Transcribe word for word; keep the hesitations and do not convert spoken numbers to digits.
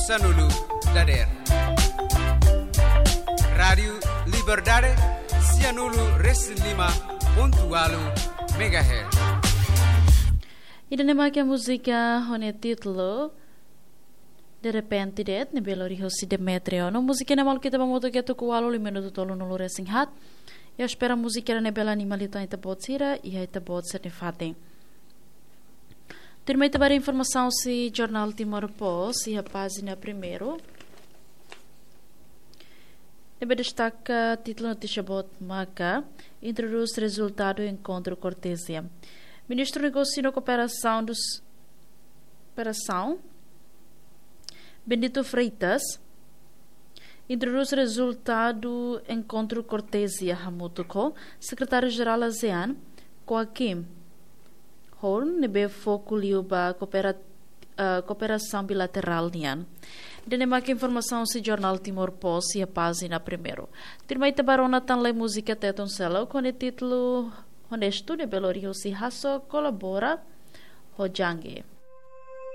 Sanulu dader. Rádiu Liberdade, sianulu resin lima pontu walu megahertz. Ida-ne'e mak múzika ho nia títulu De Repente De'it, ne'ebé lori hosi Demetrio. No múzika ne'e maluk ita ba hamutuk iha tuku walu, liu minutu tolunulu resin haat. I espera múzika ne'e bele anima liután ita-boot sira iha ita-boot sira-nia fatin. Tuirmai ita ba informasaun husi Jornál Timor Post iha pájina primeiru. Ne'ebé destaka títulu notísia boot maka: Introdús rezultadu enkontru kortezia. Ministru Negósiu no Kooperasaun dos, Kooperasaun, Bendito Freitas, introdús rezultadu enkontru kortezia hamutuk ho Sekretáriu-Jerál ASEAN, Joachim Horn, ne'ebé foku liu ba koopera-, eh, kooperasaun bilaterál nian. Ida-ne'e mak informasaun husi Jornál Timor Post iha pájina primeiru. Tuirmai ita ba rona tan lai múzika Tetun seluk ho nia títulu Honestu, ne'ebé lori hosi Hasso kolabora ho Jangge.